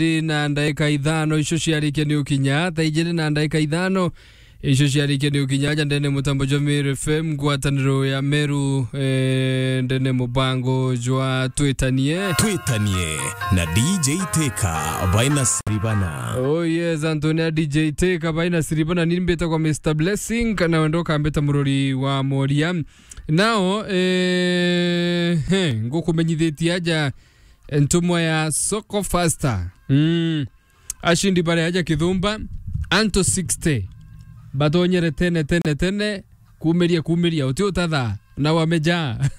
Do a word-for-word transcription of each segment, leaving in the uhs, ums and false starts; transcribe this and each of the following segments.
ijiri na ndaika ithano icio ciarikia ni ukinya, thaa ijiri na ndaika ithano icio ciarikia ni ukinya, aja ndene mutambo jwa Meru F M, ngwataniro ya Meru, eh, ndene mubango jwa Twitanie. Twitanie na D J Teka, Vaina Siribana. Oh yes, Antonia D J Teka, Vaina Siribana, ni mbitagwa Mister Blessing, kana wendo ukambita murori wa moria. Nao, eh, he, ngukumenyithitie aja ntumwa ya Soko Faster. Mm. Ashindi baria aja Kithumba, antu sixty. Batonyere tene, tene, tene, kumiria, kumiria, uti utatha, na wameja.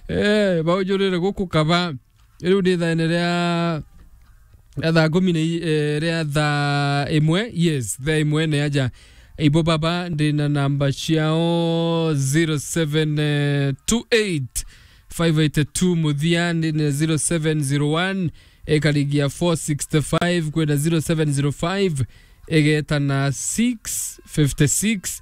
Eh, baujurire guku kaba. Riu ni thaene ria, ria thaa kumi na i-, eh, ria thaa imwe, yes, thaa imwe ni aja. Ibo baba, ndi na namba ciao, zero seven two eight five eight two muthia, ndi na zero seven zero one, ikarigia four sixty-five, kwina zero seven zero five, igeta na six fifty-six.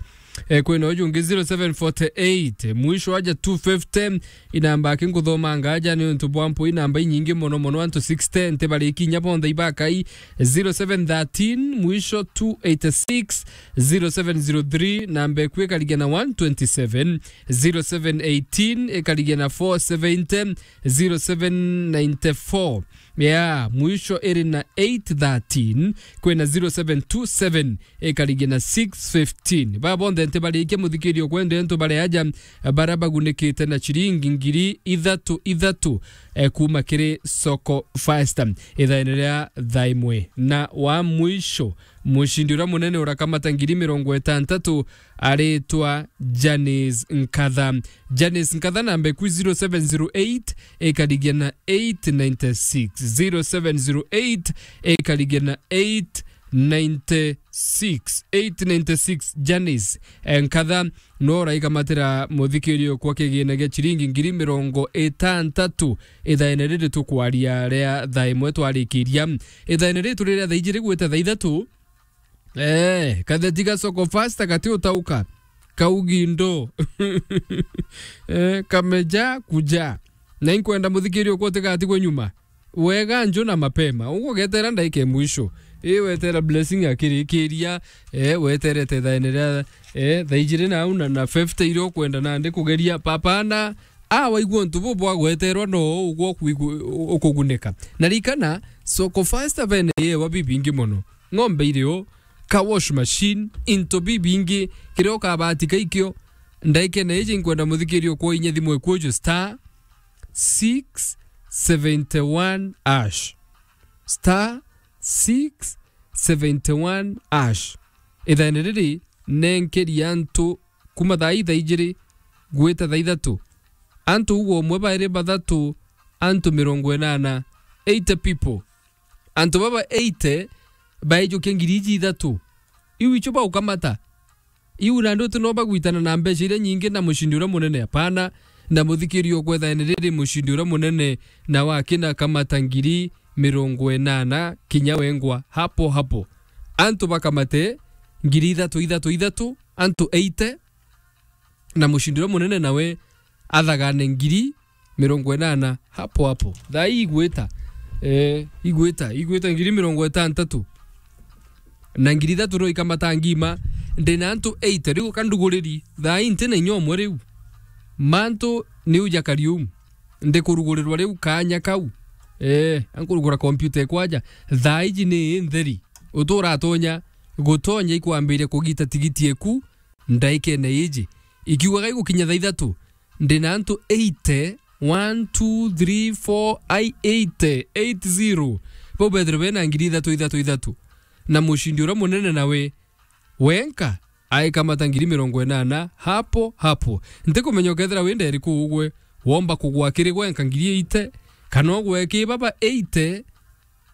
Eh, kwina uju ungi zero seven forty-eight, mwisho aja two fifty. Inamba aki nkuthomanga aja ni untu bwa mpui, namba inyingi mono mono, antu sixty, nti bari kinya bonthe ibakai. Zero seven thirteen, mwisho two eighty-six, zero seven zero three, namba iku ikarigia na one twenty-seven, zero seven eighteen, ikarigia na four seventy, zero seven ninety-four. Yeah, mwisho iri na eight thirteen, kwina zero seven two seven, ikarigia na six fifteen. Ba bonthe nti barikia muthikirio kwende ntu bari aja, bara bagunikite na ciringi ngiri ithatu ithatu, eh, kuma kiri Soko Faster. Ithaene ria thaa imwe. Na wa mwisho, mucindi uria munene urakamata ngiri mirongo itantatu aritwa Janice Nkatha. Janice Nkatha namba iku zero seven zero eight, ikarigia na eight ninety-six. Zero seven zero eight, ikarigia na eight ninety-six. Eight ninety-six, Janice, eh, Nkatha, no uraikamatira muthikirio kwa kigina gia ciringi ngiri mirongo itantatu. Ithaene riri tukwaria ria thaa imwe twarikiria. Ithaene ritu riria thaa ijiri gwita thaa ithatu, eh, katheti ga Soko Faster gati utauka. Kaugi ndo. Eh, kameja kuja. Na inkwenda muthikirio kwa utigatigwe nyuma. Wega njo na mapema. Uguo getera ndaika ya mwisho. Ii wetera Blessing akirikiria, eh, weterete thaene ria, eh, thaa ijiri na au na, na fifty iria ukwenda nandi kugeria. Papana, a waigua untu bu bwa gweterwa no uguo ukwigu-, ukugunika. Na rikana, Soko Faster vene yewa bibingi mono. Ng'ombe irio, car wash machine, into bibingi, kiria ukabatika ikio. Ndaikene iji nkwenda muthikirio kwa inya thimu ikuju star six seventy one hash. Star six seventy one hash. Ithaene riri nenkeri antu kuma thaa ithaa ijiri gwita thaa ithatu. Antu uguo umwe bairi bathatu, antu mirongo inana, eighty people. Antu baba eighty baijukia ngiri iji ithatu. Iu icio baukamata. Iu nandi uti no bagwitana na mbeca iria nyingi na mucindi uria munene? Apana. Na muthikirio kwethaene riri mucindi uria munene na wakina kamata ngiri mirongo inana kinya wengwa hapo hapo. Antu bakamate ngiri ithatu, ithatu, ithatu, antu eighty, na mucindi uria munene nawe athagane ngiri mirongo inana hapo hapo. Thaa ii igwita, eh, igwita, igwita ngiri mirongo itantatu. Na ngiri ithatu no ikamata ngima, ndina antu eighty, riu kanduguriri, thaa ii ntina inya umwe riu. Mantu ni uja kariu, ndikurugurirwa riu kanya kau. Eh, ankurugura kompyuta ikwaja, thaa iji ni ntheri. Uturatonya, gutonya ikwambiria kugita tigiti eku, ndaikene iji. Ikiugaga igukinya thaa ithatu, ndina antu eighty, one, two, three, four, ai eighty, eight zero. Bau bethirwe bena ngiri ithatu, ithatu, ithatu. Na mucindi uria munene nawe, wenka, aikamata ngiri mirongo inana, hapo, hapo. Ntikumenya ukethira wi nderi kuu ugwe, womba kugwa kiri gwenka ngiri eighty, kana ugwe ki baba eighty,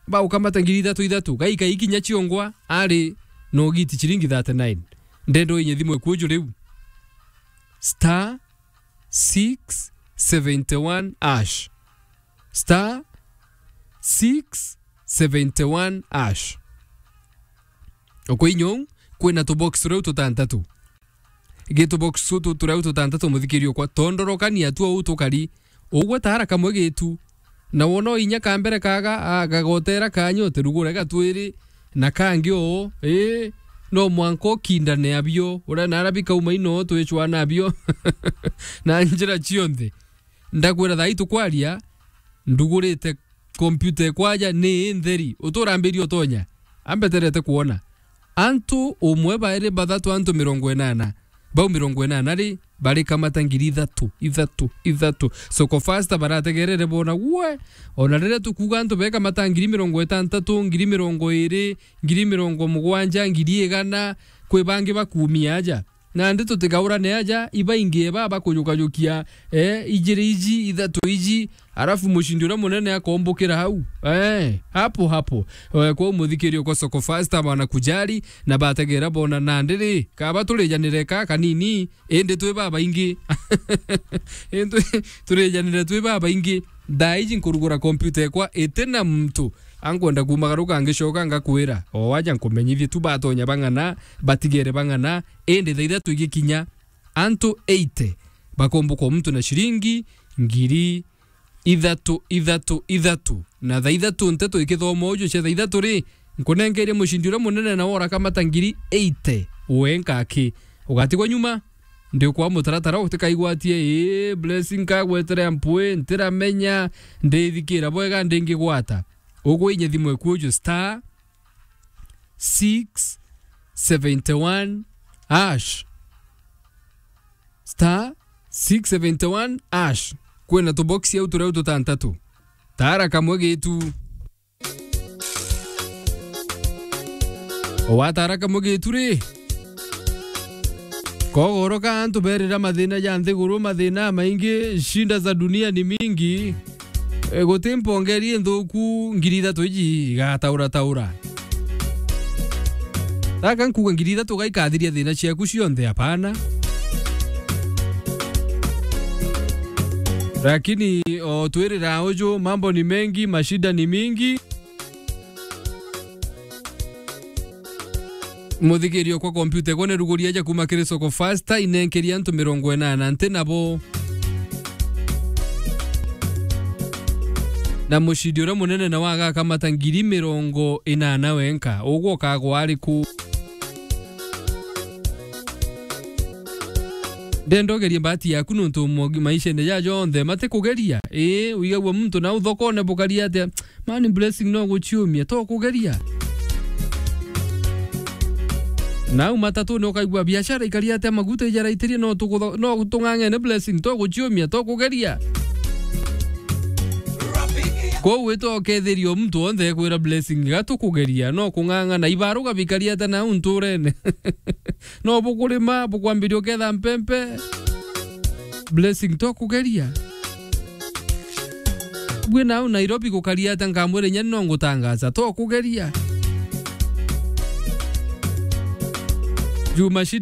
baukamata ngiri ithatu ithatu, gaika ikinya ciongwa, ari no giti ciringi thirty-nine. Ndenda uinye thimu ikuju riu. Star six seventy one hash. Star six seventy one hash. Ukwinyou, kwina tubox turiu tutantatu. Gitu box tutu turiu tutantatu, muthikirio kwa tondorokania tu au tukari. Ugwe tara kamwe gitu, Na wona o inya ka mbere kaga, a, gagotera kanya utirugure gatwiri, na kangi uu, ii, no mwanka ukindane abio, uria nara bikauma ino twicwana abio na njira cionthe. Ndakwira thaa ii tukwaria, ndugurite kompyuta ekwa aja ni ntheri. Uturambiria utonya. Ambeterete kwona. Antu umwe, bairi, bathatu, antu mirongo inana. Bau mirongo inana ri, barikamata ngiri ithatu, ithatu, ithatu. Soko Fasta barategerere bona, we, ona riria tukuuga antu bekamata ngiri mirongo itantatu, ngiri mirongo iri, ngiri mirongo mugwanja, ngiri igana, kwi bangi bakuumia aja. Nandi tutigaurane aja, ibaingi eba bakujukajukia, eh, ijiri iji, ithatu iji, arafu mucindi uria munene akombukira hau. Eh, hapo hapo. Eh, kwou muthikiria kwa Soko Fasta bana kujari, na bategera bona nandi ri, kaba turijanire ka kanini, indi twi babaingi. Indi turijanire twi babaingi. Thaa iji nkurugura kompyuta ekwa iti na muntu. Ankwenda kumagaruka ngicoka ngakwira. O waja nkumenyithie tu batonya bang'ana, batigere bang'ana, indi thaa ithatu igikinya, antu eighty bakombukwa muntu na ciringi ngiri ithatu, ithatu, ithatu. Na thaa ithatu nteto ikithoma uju cia thaa ithatu ri, nkunenkeria mucindi uria munene na wora kamata ngiri eighty. Wenka aki? Ugatigwa nyuma. Ndi kwa mutaratara utikaigwatie, ii, Blessing kagwetere mpwi, ntiramenya, ndithikira bwega ndingigwata. Ugwinya thimu eku uju star six seventy one hash. Star six seventy one hash. Kwina tuboksi au turia tutantatu. Tara kamwe gitu. Watara kamwe gitu ri. Kogoroka antu berira mathina ja nthiguru, mathina maingi, shinda za dunia ni mingi. E, guti mpongeri nthuku, ngiri ithatu iji igataura taura. Raka nkuga ngiri ithatu gaikathiria thina ciaku cionthe, apana. Lakini o twirira uju, mambo ni mengi, mashida ni mingi. Muthikirio kwa kompyuta ikwa ni ruguria ja kuma kiri Soko Fasta, inenkeria antu mirongo inana nti nabo. Na mucindi uria munene nawe agakamata ngiri mirongo inana wenka. Ugwe ukagwa ariku? Ndenda ugerie mbati yaku nontu mo-, maishene ja jonthe matikugeria. Ii, uigagua muntu nau thokone bukari atia? Mani Blessing no guciumia, to kugeria. Nau matatune ukaigua biashara ikari atia, maguta ijaraitirie, no tukutho-, no tung'ang'ene Blessing, to guciumia, to kugeria. Kwou witwa ukethiria o muntu wonthe ekwira Blessing, ga tukugeria, no kung'ang'ana, ibaruga bikari atia nau nturene? No bukurima, bukwambiria uketha mpempe. Blessing, to kugeria. Bwi nau Nairobi gukari atia, nkamwira inya no ngutangaza, to kugeria. Juu mashida